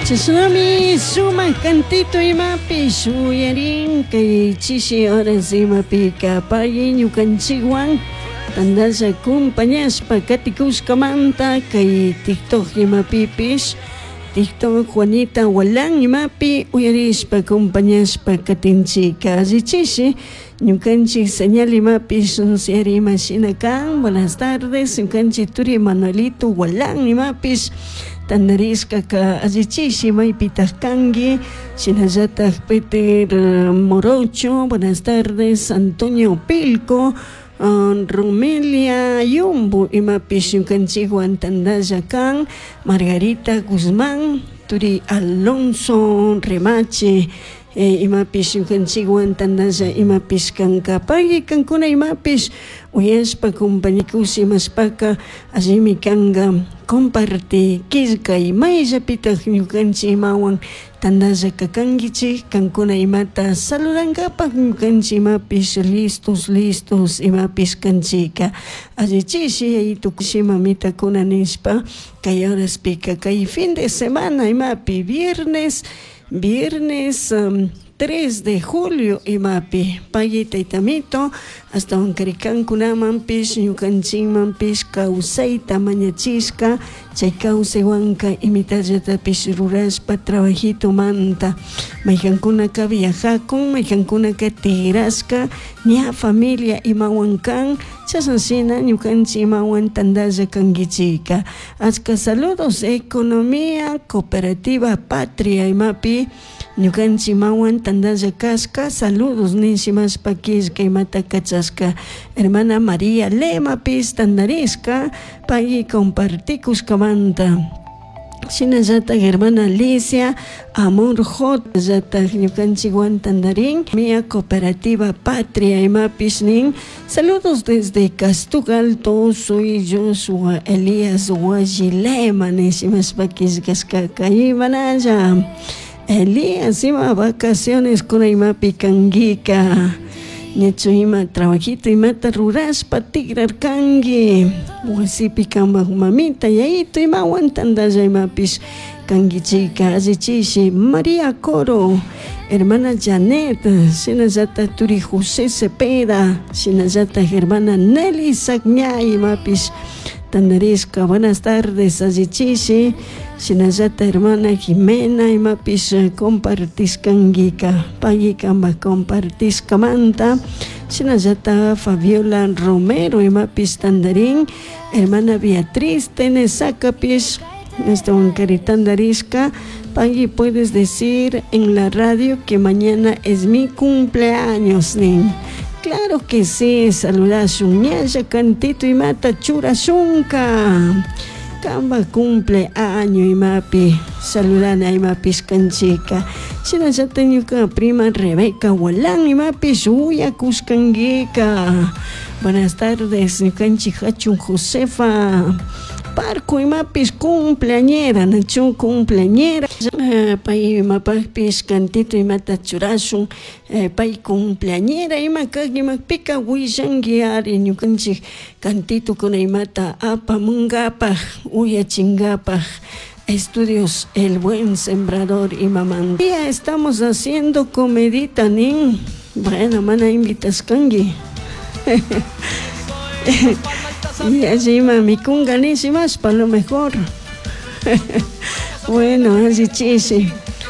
Chashnami sumak cantito imapish uyarin kay chishi horas imapika pay ñukanchikwan tandalla compañashpa katikushkamanta kay TikTok imapipish TikTok Juanita Gualán imapi uyarishpa compañashpa katinchika allichishi ñukanchik señal imapish siyari ima shina kan. Buenas tardes, ñukanchik turi Manuelito Gualán imapish tandarishkaka allichishi maypitak kanki. Shinallatak Peter Morocho, buenas tardes, Antonio Pilco, Romelia Yumbo imapish ñukanchikwan tandalla kan, Margarita Guzmán, turi Alonso Remache, imapish ñukanchikwan tandalla imapish kanka. Pagui kankuna imapish uyashpa compañikush imashpaka allimi kanka comparti killkay mayllapitak ñukanchik imawan tandalla kakankichik kankuna imata saludankapak ñukanchik imapish listos listos imapish kanchika allichishi yayitukushi mamitakuna nishpa kay horaspika kay fin de semana imapi viernes viernes 3 de julio imapi pagui taytamito ashtawankari kankunamanpish ñukanchikmanpish kawsayta mañachishka chay kawsaywanka imitallatapish rurashpa trabajitomanta maykankunaka viajakun maykankunaka tigrashka ña familia imawan kan chashna shina ñukanchik imawan tandalla kankichika. Achka saludos Economía Cooperativa Patria imapi ñukanchik imawan tandalla kashka saludos nishimashpa killka imata kachashka hermana María Lemapis tandarishka pay compartikushkamanta. Shinallatak hermana Alicia Amor J llatak ñukanchikwan tandarin Mia Cooperativa Patria imapish nin saludos desde Castuc Alto, soy Joshua Elías Guayilema nishimashpa killkashkaka imanalla Elías ima vacaciones kuna imapi kankika ñachu ima trabajito imata rurashpa tigrarkanki wasipi kanpak mamita yayito imawan tandalla imapish kankichika allichishi María Coro hermana Janet shinallatak turi José Cepeda shinallatak hermana Nelly Sacña imapish tandarishka. Buenas tardes allichishi shinallatak hermana Jimena imapish compartishkankika pagui kanpak compartishkamanta shinallatak Fabiola Romero imapish tandarin hermana Beatriz Tenesakapish ashtawankari tandarishka pagui puedes decir en la radio que mañana es mi cumpleaños nin. Claro que sí, saludashun ñalla cantito imata churashunka kanpak cumpleaños imapi saludana imapish kanchika shinallatak ñuka prima Rebeca Gualán imapish uyakushkankika. Buenas tardes ñukanchik jachun Josefa Parco imapish cumpleañera nachu cumpleañera pay imapakpish cantito imata churashun pay cumpleañera ima kak imapika willanki ari ñukanchik cantitokuna imata apamunkapak uyachinkapak Estudios El Buen Sembrador imamanta. Ya estamos haciendo comidita nin. Bueno, mana invitashkanki. Alli ima mikunka nishimashpa a lo mejor. Bueno, alli chishi.